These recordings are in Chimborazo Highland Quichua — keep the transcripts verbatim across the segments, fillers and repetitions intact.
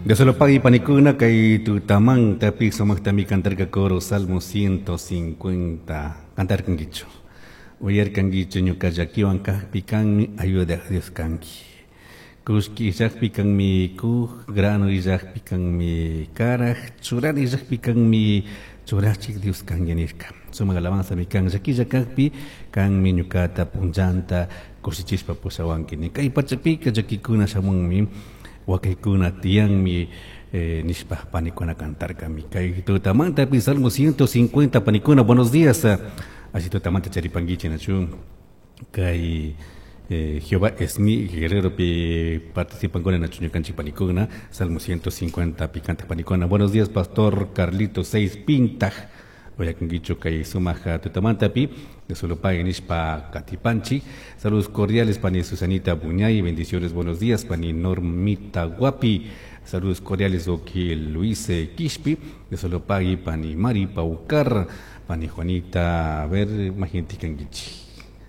Dios lo pague panikuna kay tutamanta pi sumaqtami cantarka coro Salmo ciento cincuenta cantarkankichu uyarkankichu ñuka llakiwan kaqpi kanmi ayuda Dios kanki kushki illaqpi kanmi kuj grano illaqpi kanmi karaj churana illaqpi kanmi churachik Dios kanki nirka sumaq alabanza mi kan llakilla kaqpi kanmi ñukata punllanta kushichispa pushawanki ni kay pachapika llakikuna shamunmi wakaykuna tiyanmi eh, nishpa panikuna cantarkami kay tutamanta pi Salmo ciento cincuenta panikuna buenos días así tutamanta charipankichi nachu kay eh, Jehová es mi guerrero pi participan con nachu ñukanchik panikuna Salmo ciento cincuenta picante panikuna buenos días pastor Carlito seis Pintaj Oyakungicho kay sumaja tutamanta pi de solo paguen nishpa katipanchi saludos cordiales pani Susanita Buñay bendiciones buenos días pani Normita Guapi saludos cordiales oki Luis Quispi de solo pagui pani Mari Paucar pani Juanita a ver imagínate kangichi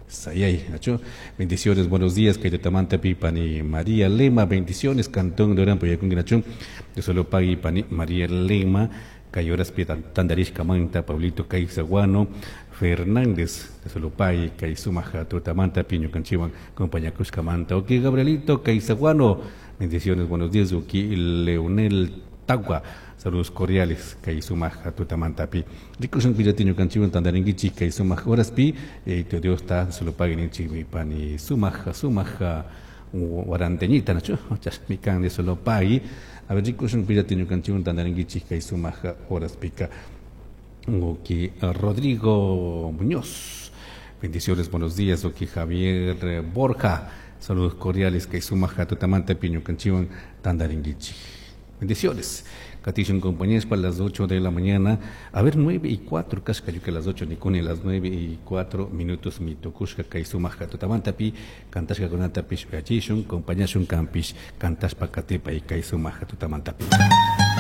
Sayay, Nacho. Bendiciones, buenos días, kay tutamanta pi pani María Lema, bendiciones, Cantón de Orampo, Yakungi de solo pagui pani María Lema, Cayoras Tandarishka Manta, Pablito Caizaguano, Fernández, de Solopay, Caizumaja, Tutamanta, Piño Canchiwan, compañía Manta, ok, Gabrielito Caizaguano, bendiciones, buenos días, ok, Leonel Tagua, saludos cordiales, Caizumaja, Tutamanta, Pi, Rikushun Pillatiño Canchiwan, Tandaringuichi, Caizumaja, horas Pi, eh, Dios está, Solopay, Ninchi, Pani, Sumaja, Sumaja, Waranteñita, Nacho, Chasmican de Solopay, a ver, rikushun pillatiño canchiwan tandaringuichi kay sumaja horas pica. Oki Rodrigo Muñoz. Bendiciones, buenos días. Oki Javier Borja. Saludos cordiales kay sumaja tutamanta piño canchiwan tandaringuichi. Bendiciones. Catishun compañías para las ocho de la mañana. A ver, nueve y cuatro, casca yo que las ocho, ni las nueve y cuatro minutos, mi tokushka kay sumaja tutamanta pi, cantashka kunata pish uyachishun, compañashun campish, cantashpa katepa y kay sumaja tutamanta pi.